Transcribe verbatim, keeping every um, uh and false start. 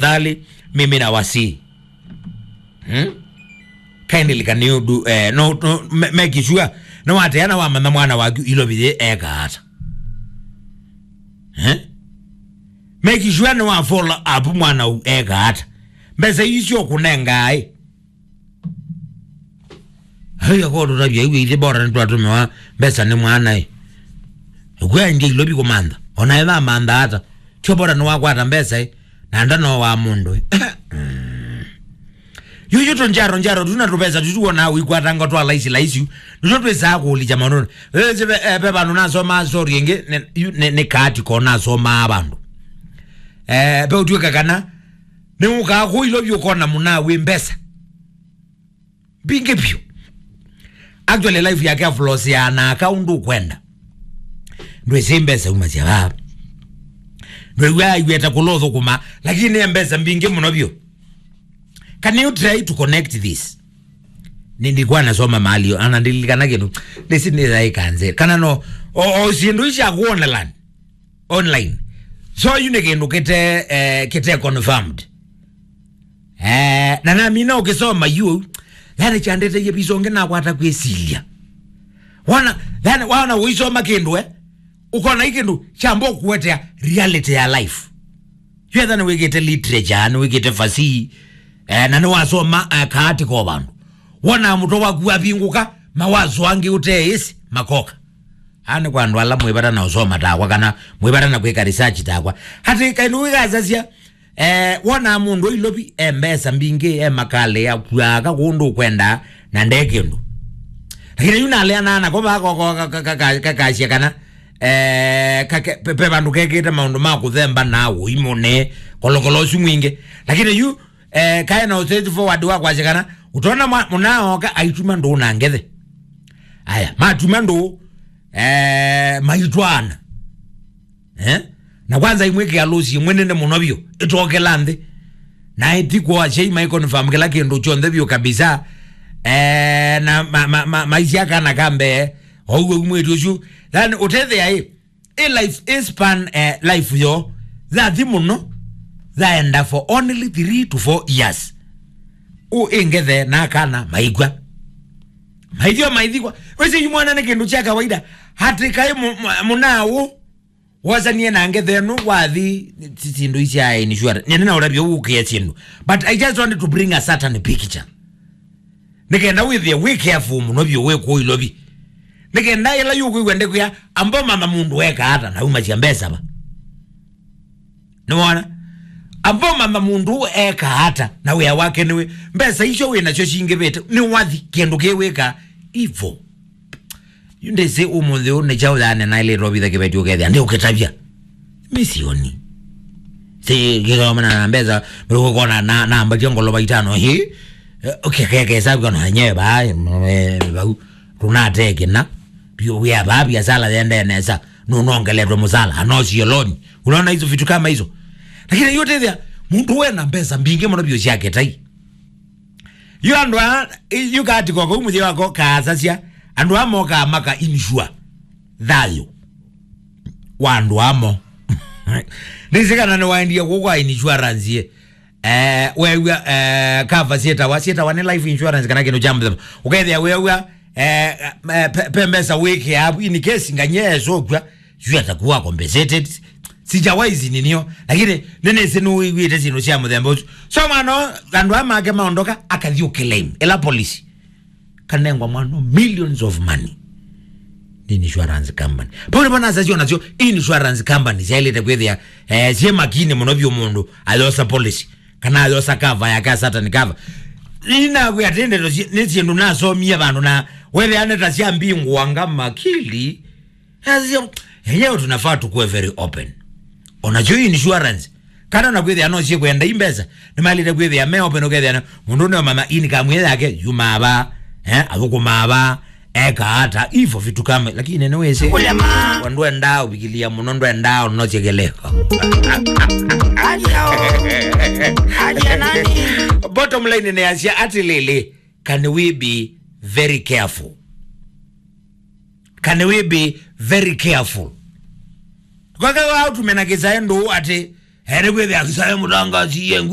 Tafadhali, mimi nawasihi. Hmm? Kindly, can you do, eh, no, no, ma-, make sure, no, ateana wamanya mwana waku ilovi ye eka ata. Eh? Make sure no wa follow up mwana u eka ata. Mbesa icio kunenga ai. Haya, ko tutavya iwe ithe bora nitwatumiwa mbesa ni mwana e. Kwa nje ilovi kumantha. Ona eva mantha ata. Tio bora ni wakwata mbesa e. Na ndano wa mundu e. Mm. Yuyu tunjaro njaro tuna tupesa tutuona wikwatanga twa laisi laisi. Ndio twesa kulicha maneno. Ese ve, eh, ve vandu nasoma story ingi ne, yu- ne, ne kaati ko nasoma vandu. Eh, pe utuika kana ni ukaa ku ilovi ukona muna wi mbesa mbingĩ vyũ. Actually, life yake aflosia na aka ũndũ ũkwenda. Ndwĩsĩ mbesa uma sya vaa. Ndwĩw'a aiweta kũla ũthũkũma, lakini nĩ mbesa mbingĩ mũno vyũ. Can you try to connect this? Nilikuwa nasoma mahali, anandilikana kĩndũ. Nĩsi nĩthaĩkanze. Kana no, o, o syĩndũ isya kuonelan online. So, yu nĩ kĩndũ kĩte, eh, kĩte confirmed. Eh, na namina ũkĩsoma yu, yani kyandeteiye visa ũngĩ nakwata kwĩsilya. Wana, yani, wana ũisoma kĩndũ, eh, ũkona hii kĩndũ kyamba ũkũetea reality ya life. Yu etha nĩwĩkĩte literature, nĩwĩkĩte fasihi, eh, na nĩwasoma, eh, kaati ko vandũ. Wona mũtwe waku wavingũka, mawazo angĩ ũteĩsĩ, makoka. Aa nĩ kwa andũ ala mwĩvata na ũsoma takwa, kana mwĩvata na kwĩka research takwa. Atĩ kaĩ nĩwĩkasasya, eh, wonaa mũndũ ilovi, e mbesa mbingĩ, e makalĩ, akuaa ka kũndũ ũkwenda, na nde kĩndũ. Lakini yu naleanaa nako vaa koko ka- ka- ka- ka- kakasya kana, eh, kake- pe- pe vandũ kekĩte maũndũ ma kũthemba na ũimũne, kolokolo ũsu mwingĩ. Lakini yu, eh, kae na straight forward wa kwasya kana, ũtona mwa- mũnaa oka aituma ndũũ na ngethe. Aya, matuma ndũũ, eh, maitwaana. Eh? Na kwanza imwĩkĩa lũsi ĩmwe nene mũno vyũ, ĩtokela nthĩ. Na ĩtikuo asyai mai confirm kĩla kĩndũ kyonthe vyũ kabisa. Eh, na ma- ma- ma- maisya kana ka mbee, ouwe umwĩti ũsu. Then ũtethĩa ĩ, ĩ life, ĩ span, eh, life yo, yathi mũno, yaenda for only three to four years. Ũ ĩngethe na kana maikw'a. Maithio maithikwa. Wĩsĩ yu mwana nĩ kĩndũ kya kawaida. Atĩ kaĩ mu- mu- mũnaa ũ wosanie na ngethe ĩno wathi si- syĩndũ isya insurance. Nyene na ũrabia ũkĩa syĩndũ. But I just wanted to bring a certain picture. Nĩkenda wĩthĩe wĩ careful mũno vyũ wĩ kũũ ilovi. Nĩkenda ĩla yũkwĩw'a ndĩkwĩa, amba ũmanya mũndũ eka ata na umasya mbesa va. Nĩwona? Amba ũmanya mũndũ eka ata na wĩa wake nĩwĩ. Mbesa icio wĩ nasyo cingĩvĩte, nĩwathi kĩndũ kĩwĩka ivo. Yu ndĩsĩ ũmũnthĩ ũũ nĩ kyaũ yaane naĩlĩte ũvitha kĩveti ũkethĩa ndĩ ũkĩtavya. Misioni. Si kĩthomana na mbesa, mĩlũko kona na, na mbatia ngolova itano, hi? Eh, okay, keke sabu kana nyewe ba, eh, bau. Tunatee kĩna. Bio wĩa ba biashara yende nesa. Nũnongeletwe mũsala, anosie loni. Unaona hizo vitu kama hizo? Lakini yote thia, mũndũ wena mbesa mbingĩ mũno bio syake tai. Yu andũ a, yu kaati koko, yu mũthya wako kaasasya, andũ a mokaa maka insure thayũ wa andũ amo. Nĩsĩ kana nĩwaendie kũu kwa insurance ye. Eh, wew'a, eh, cover syĩtawa, syĩtawa nĩ life insurance kana kĩndũ kya mũthemba. Ũkethĩa wew'a, eh, eh, pe- pe mbesa wĩkĩa avu in case nganyie esũkw'a, yu atakuwa compensated. Sijawahi zininio, lakini nĩnĩsĩ nĩwĩw'ĩte syĩndũ sya mũthemba ũsu. So mwana, andũ aa make maondoka, akathi ũclaim ĩla polisi. Kanengwa mwana millions of money. Nĩ insurance company. Pau nĩvo nasasyo nasyo insurance company syaĩlĩte kwĩthĩa, eh, syĩ makini mũno vyũ mũndũ ayosa policy, kana ayosa cover yake, a certain cover. Inakwĩa atĩ ndeto si- nĩ syĩndũ nasomie vandũ na wethĩa nĩ ta syambingũanga makili. Asio, enyewe tunafaa tukuwe very open. Onakyo insurance. Kana na kwĩthĩa no syikwenda i mbesa. Nĩmaĩlĩte kwĩthĩa me open ũkethĩa na mũndũ nĩomanya income ĩ yake yumaa va, eh, athũkũmaa va, eka ata, ifo vitu kama, lakini nĩwĩsĩ. Kũlema. Wa ndwendaa ũvikilia mũno, ndwendaa ũnosye kĩlĩko. Alia o. Alia nani? Bottom line nĩ asya atĩlĩlĩ, can we be very careful? Can we be very careful? Kwaka wautume na kĩsaĩ ndũũ atĩ, Ene kwĩthĩa akisaya mũtangasi ye ngumi